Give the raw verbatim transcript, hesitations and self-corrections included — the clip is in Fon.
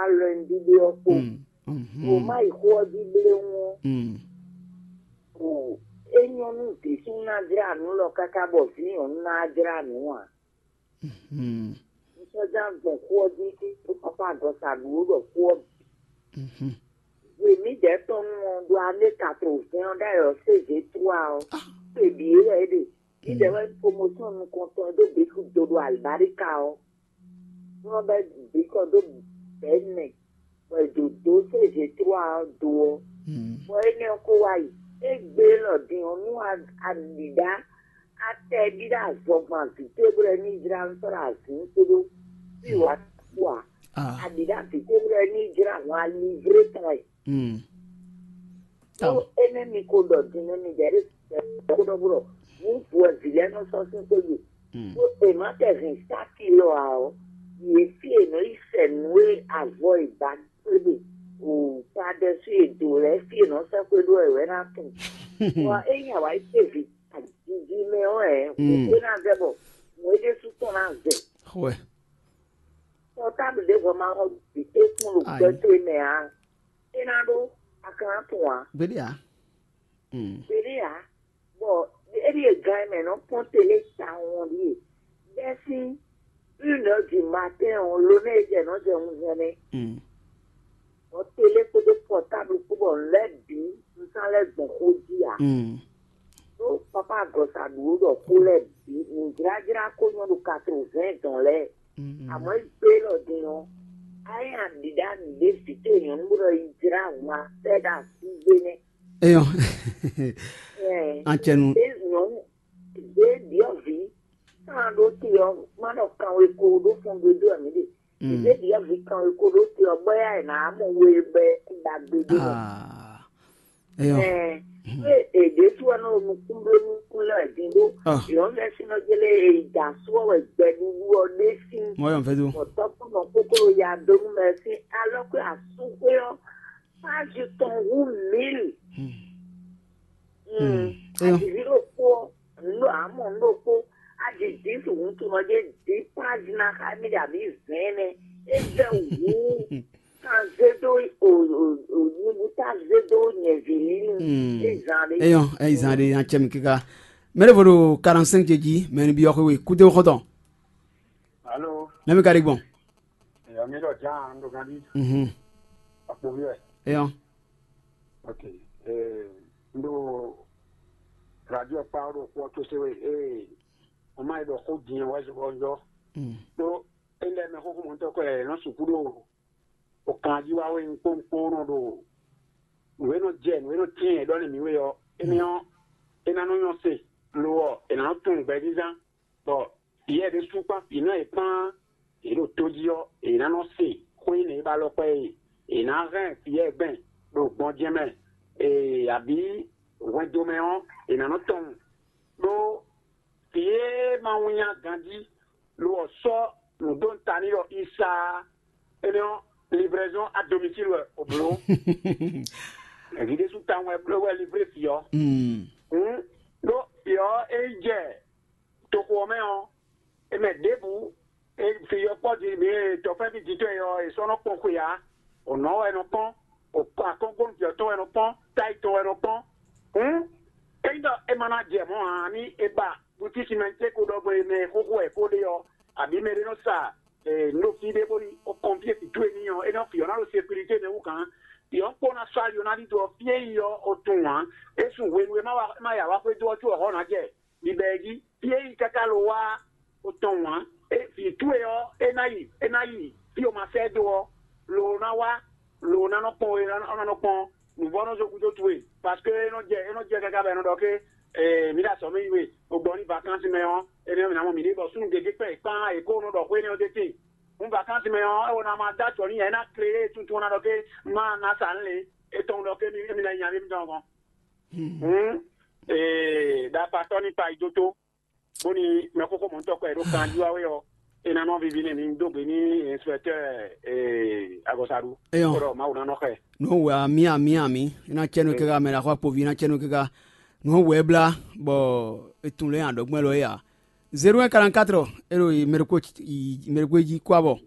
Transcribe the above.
lɛnɖíɖé ɔ́ kpó. Mm. Mhm. O má yi xó ɔ́ jí bléwún ɔ́, Mm. o é nyɔ́ nú vǐ súnnu ná jlá nǔ lɔ káká bɔ vǐ nyɔ̌nu ná jlá nǔ ǎ. Mhm. Sɔ́já gbɔn xó ɔ́ jí, ɖó pápá agɔsa ɖu ó ɖɔ xó ɔ́ bǐ. Mhm. Hwe mǐdɛɛ tɔn nu ɔ́ ɖo ané katrovɛ́n ɔ́ ɖ'ayɔ sézé trua ɔ́, Ah. Xwe bǐ é wɛ é ɖe. Mǐdɛɛ wɛ promotion nukɔntɔn e ɖó bǐ kú do ɖo alibáríka ɔ́. Nú ɔ́ bɛ́ bǐ kɔ dó bɛ̌ nɛ, bɔ è ɖǒ dó sézé trua ɔ́ do ɔ́. Mm. Bɔ énɛ́ ɔ́ kó wá yi. É gbe élɔ́ din ɔ́, nú a- a ɖǐɖá atɛ ɖíɖá azɔgban vǐ towe bó lɛ́ ní jlá nú sɔ́ ɖo azǐn kpódó fí wǎ kú ǎ. Ah. A ɖǐɖá vǐ towe bó lɛ́ ní jlá hɔn alivré tɔn wɛ. Mm. Ɖó Aw. Énɛ́ mi ko ɖɔ din nú mi ɖɛ̌ ɖé kó ɖɔ bó ɖɔ nǔ vú wɛ vǐ lɛ́ɛ nɔ sɔ́ sín xwé gbe. Mm. Ɖó è má tɛ hɛn sáki lɔ ǎ ɔ́, yě fí è nɔ yi sɛ nǔ e avɔ e ba kpéɖe o ta ɖɛsú e do lɛ́ɛ fí è nɔ sɛ́ xwé ɖó wɛ wɛ ná tunwun. Bɔ ényí a wǎ yi kpé vǐ jiji mɛ ɔ́ ɛ, Mm. É ná vɛ bɔ mɔ̌ é ɖésú tɔn ná vɛ. Xwɛ. Pɔtáblu ɖěvo ma xɔ bǐ tɛ́nkún ɖo Ayi. Gbɛ towe mɛ ǎ. É ná ɖó a ka ná tunwun ǎ. Gbeɖé ǎ. Mm. Gbeɖé ǎ. Bɔ é ɖíe gan e mɛ nɔ kpɔ́n télé tawun ɔ́ ɖíe. Bɛ́sín une heure du matin ɔ́, lo nɛ́ é jɛ nɔ jɛ wunzɛn nɛ́. Mm. Bɔ télé kpódó pɔtáblu kpó bɔ nǔ lɛ́ɛ bǐ un sán lɛ́ gbɔn xó jí ǎ. Mm. Ɖó papa agɔ̌sa ɖu ó ɖɔ xó lɛ́ɛ bǐ nǔjlájlá ko nyɔ́ ɖo katrovɛ́n dɔn lɛ́ɛ. Mm, mm. Àmọ́ é gbé lɔ din ɔ́, á nyí aɖǐɖá nǔɖé vǐ towe nyɔ̌nu bó ɖɔ yi jlá hun afɛ́ ɖo asígbé nɛ́. Eyɔn. Ɛ, Ancɛnu. Ɖé nyɔ̌nu ɖé ɖyɔ̌vǐ kan ɖó te ɔ́, má ɖɔ kanwe ko ɖó fɔn gbe dó ɛmí ɖe. Mm. Ɖé ɖyɔ̌vǐ kanwe ko ɖó te ɔ́, bɔ yá ɛ nǎ mɔ we bɛ ɖagbe ɖé mɛ. Ah. Eyɔn. Ɛ, é, é ɖésú ɔ́ nɔ nukún bló nukún lɛ́ wɛ din ɖó. Ah. Yɔ̌vɛ́ sín nɔ jélé e yi da asú ɔ́ wɛ gbɛɖuɖu ɔ́ ɖe sín. Mɔ yɔn fɛ do. Bɔ tɔ́kpɔ́nɔ kókó ya dó nú mɛ sín alɔ kpé asúxwé ɔ́, page tɔn hú mil. Hmm. Hmm. Eyɔn. Aɖǐví ɖokpó ɔ́, nǔ ɖo amɔ nǔ ɖokpó, aɖǐ dix hǔn tunɔ ɖé dix page ná xá mì ɖo abǐ vɛ̌ɛn nɛ́. É vɛ́ hǔ. Kan zé dó o o o nyibú tá zé dó nyɛ̌ví línu. Hmm. É zan ɖé. Eyɔn, é zan ɖé, yan cɛ mi kíká. Mɛ ɖé vo ɖo quarante-cinq ce jí, mɛ ni byɔ́ xwe we, kúté xɔ́ntɔn. Alo. Nɛmi ka ɖi gbɔn. Eyɔn, mi ɖɔ ján ɖo gán bí. Mhm. Akpovi wɛ. Eyɔn. Ok. Ee, n ɖo radio kpa ɖo kpɔ tó se we. Ee, o ma yi ɖɔ xó din wɛ zɔnjɔ. Mm. Ɖó e lɛ mɛ xóxó mɔtɔ kɔ ɛ nɔ sukú ɖo o kan jí wá wé kpónkpó nɔ ɖo nǔ e nɔ jɛ nǔ e nɔ tín e ɖɔ nú mǐ we ɔ́, énɛ́ ɔ́, é ná nɔ nyɔ́ se, lo ɔ́, è nǎ nɔ tunwun gbɛzínzán, bɔ Piyɛ́ɛ ɖésú kpán vǐ nɔ e kpán yě ɖo tó jí ɔ́, è nǎ nɔ se xó énɛ́ e ba alɔ kpɛ́ e è nǎ hɛn Piyɛ́ɛ gbɛn ɖo gbɔjɛ́ mɛ, ee, abǐ hwɛndo mɛ ɔ́, è nǎ nɔ tunwun. Ɖó vǐ e ma winnyá ganjí lo ɔ́ sɔ́ nǔ dó ta n'i ɖɔ Isa énɛ́ ɔ́, livraison à domicile wɛ o bló. Vǐ ɖésú tawun wɛ bló wɛ livré vǐ ɔ́. Mm. Hǔn ɖó vǐ ɔ́ é yi jɛ toxo ɔ́ mɛ ɔ́, é mɛ ɖěbǔ, é fi ɔ́ kpɔ́ din mǐ e tɔfɛ́nví jǐtɔ́ e ɔ́, è sɔ́ nɔ kpɔ́n xwe ǎ. O nɔ̌ wɛ nɔ kpɔ́n, o akɔ́nkpɔ́nú vǐ ɔ́ tɔn wɛ nɔ kpɔ́n, táyi tɔn wɛ nɔ kpɔ́n. Hǔn ényí ɖɔ é ma ná jɛ mɔ̌ ǎ, ní é ba butíki mɛ cé ko ɖɔ gbɔn e mɛ e xóxó wɛ é ko ɖe ɔ́, abǐ mɛ ɖé nɔ sa nǔ ɖo fí ɖé bóni o kɔnfyé vǐ towe n'i ɔ́, é nɔ vǐ ɔ́ ná ɖo sekirité mɛ wú gǎn. Vǐ ɔ́ kpó ná sɔ́ ali ɔ́ ná ɖidó ɔ́, fí e yi ɔ́, o tunwun ǎ. É sun hwenu e é ma wa é ma ya wá xwedó ɔ́ có ɔ́ hɔ́ ná jɛ. Bibɛ jí fí e yi káká lo wá o tunwun ǎ. É vǐ towe ɔ́, é ná yi é ná yi fí o ma sɛ́ dó ɔ́, lo ná wá lo ná nɔ kpɔ́n we ɔ́ ná nɔ kpɔ́n nǔvɔ́nɔ́ zokúdó towe, parce que é nɔ jɛ é nɔ jɛ káká bɔ é nɔ ɖɔ ké mǐ ɖo azɔ̌ mɛ yi we, bó gbɔ ní vakansi mɛ ɔ́, énɛ́ ɔ́ mǐ ná mɔ mǐɖée bɔ súnnu gěgé kpɛ́n kpán è kó nɔ ɖɔ xwé énɛ́ ɔ́ d'é te. Hǔn vakansi mɛ ɔ́, é wɔ ná ma dó ajɔ n'i ǎ, é ná klé é tuntun ɔ́ ná ɖɔ ké má ná sa nǔ lě, é tɔn ɖɔ ké émí ná nyi amyɛ mitɔn gɔ́n. Hǔn ee ɖakpatɔ́ ní kpa yi dó tó, bóni mɛxóxó mɔ̌tɔn kɔ e ɖó kanjí wá wé ɔ́, é ná nɔ víví n'i. Mi dó gbe ní inspecteur agɔ̌saɖu. Eyɔn. Kóɖɔ Mawu ná nɔ xɛ. Nǔ wɛ amí amí amí. É ná cɛ́ nú kɛ́ká mɛ ɖaxó akpoví, é ná cɛ́ nú kɛ́ká. Nǔ wɛ blá bɔ é tun lɛ́ adɔgbɛ́n lɔ é ǎ. Zéro un quarante-quatre, é ɖo mɛɖokpó mɛɖokpó jí kó abɔ.